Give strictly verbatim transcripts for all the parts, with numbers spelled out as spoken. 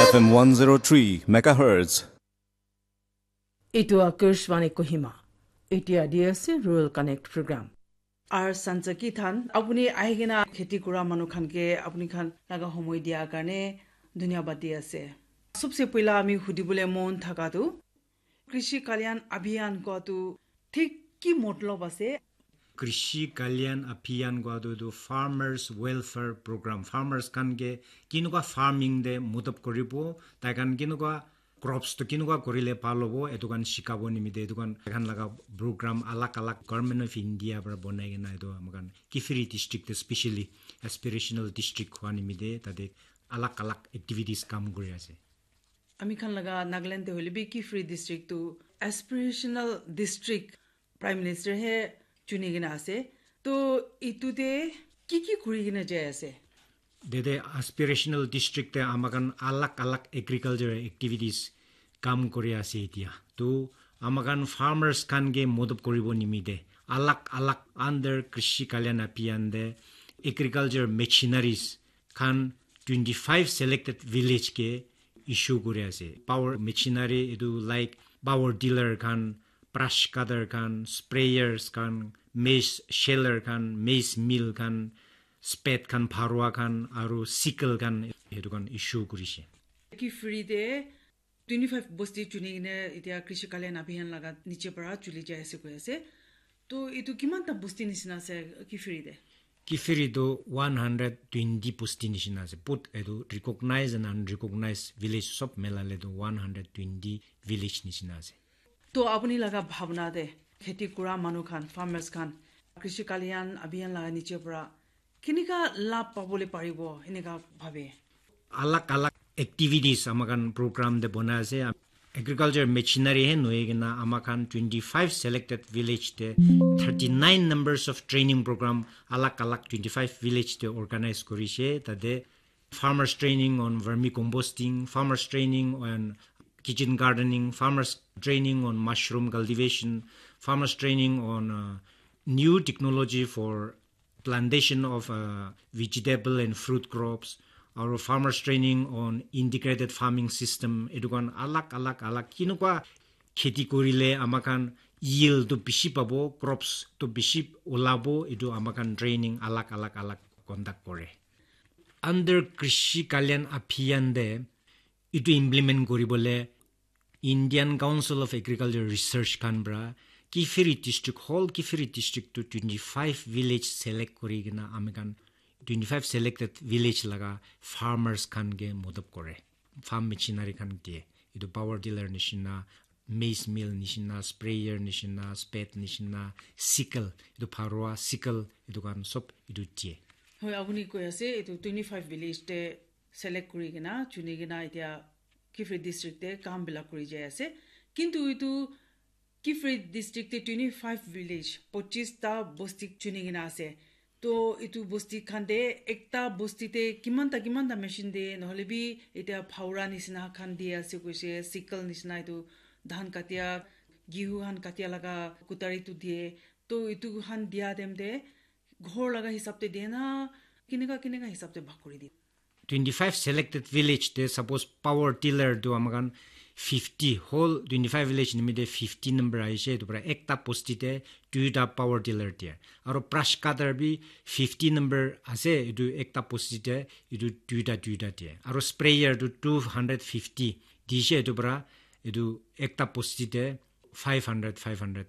F M one zero three megahertz. Etu Akashvani Kohima. Etia di ase Rural Connect Program. Ar Sansa Kithan, apuni ahikena kheti kura manu khan ke apuni khan laga homoi dia karne dhanyabad di ase. Sobse puila ami hudibole mon thaka tu, Krishi Kalyan Abhiyan koa tu thik ki motlob ase? Krishi Kalyan Abhiyan koa tu, tu Farmers Welfare Program. Farmers khan ke kinuka farming de mudap koribo, tai khan kinuka crops tu kinuka korile bhal hobo, etu khan shikabo nimite etu khan, khan laga program alag alag Government of India para bonai kena etu amakhan Kiphire district te specially aspirational district hua nimite tate alag alag activities kam kuri ase. Ami khan laga Nagaland te hoile bi Kiphire district tu aspirational district Prime Minister he chuni kena ase. To itu te ki ki kuri kena jai ase? Dede aspirational district te amakhan alag alag agriculture activities kam kuri ase etia. To amakhan farmers khan ke modop koribo nimite alag alag under Krishi Kalyan Abhiyan de agriculture machineries khan twenty-five selected village ke issue kuri ase. Power machinery etu like power tiller khan, brush cutter khan, sprayers khan, maize sheller khan, maize mill khan, spade khan, pharua khan, aru sickle khan, etu khan issue kurishe. Kiphire te twenty-five bosti chuni kene etia Krishi Kalyan Abhiyan laga niche para chuli jai ase koi ase. To etu kiman ta bosti nisina ase Kiphire te? Kiphire tu one hundred twenty bosti nisina ase. Both etu recognized and unrecognized village sob melale tu one hundred twenty village nisina ase. To apuni laga bhabna te kheti kura manu khan, farmers khan, Krishi Kalyan Abhiyan laga niche para kenika labh pabole paribo, eneka bhabe? Alag alag activities amakhan program te bonai ase. Agriculture machinery he nohoi kena amakhan twenty-five selected village te thirty-nine numbers of training program alag alag twenty-five village te organize kurishe. Tate farmers training on vermicomposting, farmers training on kitchen gardening, farmers training on mushroom cultivation, farmers training on uh, new technology for plantation of uh, vegetable and fruit crops, aru farmers training on integrated farming system, etu khan alag alag alag kinukwa kheti korile amakhan yield tu bishi pabo, crops tu bishi ulabo, etu amakhan training alag alag alag conduct kore. Under Krishi Kalyan Abhiyan de etu implement koribole Indian Council of Agriculture Research khan para Kiphire district, whole Kiphire district to twenty-five village select kuri kena ami khan twenty-five selected village laga farmers khan ke modop kore. Farm machinery khan diye. Etu power tiller nishina, maize mill nishina, sprayer nishina, spade nishina, sickle, etu pharua sickle, etu khan sob etu diye. Hoi, apuni koi ase etu twenty-five village te select kuri kena, chuni kena etia Kiphire district te kam bilak kuri jai ase. Kintu etu Kiphire district te twenty-five village, pachis ta bosti chuni kena ase. To etu bosti khan te ekta bosti te kiman ta kiman ta machine de, nohole bi etia phaura nisina khan di ase koise, sickle nisina etu dhan katia, gehu khan katia laga kutari tu diye. To etu khan dia time te ghor laga hisab te diye na, kineka kineka hisab te bhag kuri diye? Twenty-five selected village te suppose power tiller tu amakhan fifty, whole twenty-five village nimite fifty number ahishe, etu para ekta bosti te duita power tiller diye. Aru brush cutter bi fifty number ase, etu ekta bosti te etu duita duita diye. Aru sprayer tu two hundred fifty dishe, etu para etu ekta bosti te five hundred, five hundred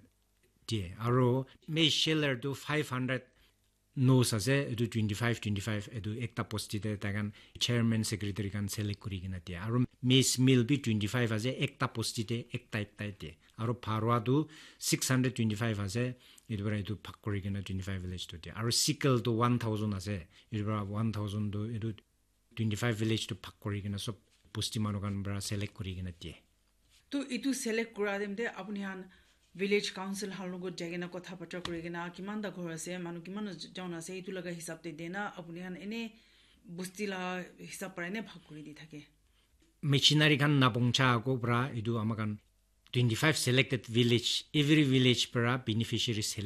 diye. Aru maize sheller tu five hundred nose ase, etu twenty-five, twenty-five, etu ekta bosti te tai khan chairman, secretary khan select kuri kena diye. Aru maize mill bi twenty-five ase, ekta bosti te ekta ekta diye. Aru pharua tu six hundred twenty-five ase, etu para etu bhag kuri kena twenty-five village tu diye. Aru sickle tu one thousand ase, etu para one thousand tu etu twenty-five village tu bhag kuri kena sob bosti manu khan para select kuri kena diye. To etu select kura time te apuni khan village council khan logot jai kena kotha batra kuri kena kiman ta ghor ase, manu kiman jon ase, etu laga hisab te diye na apuni khan ene bosti la hisab para ene bhag kuri di thake? Machinery khan napongcha ako para etu amakhan twenty-five selected village, every village para beneficiary select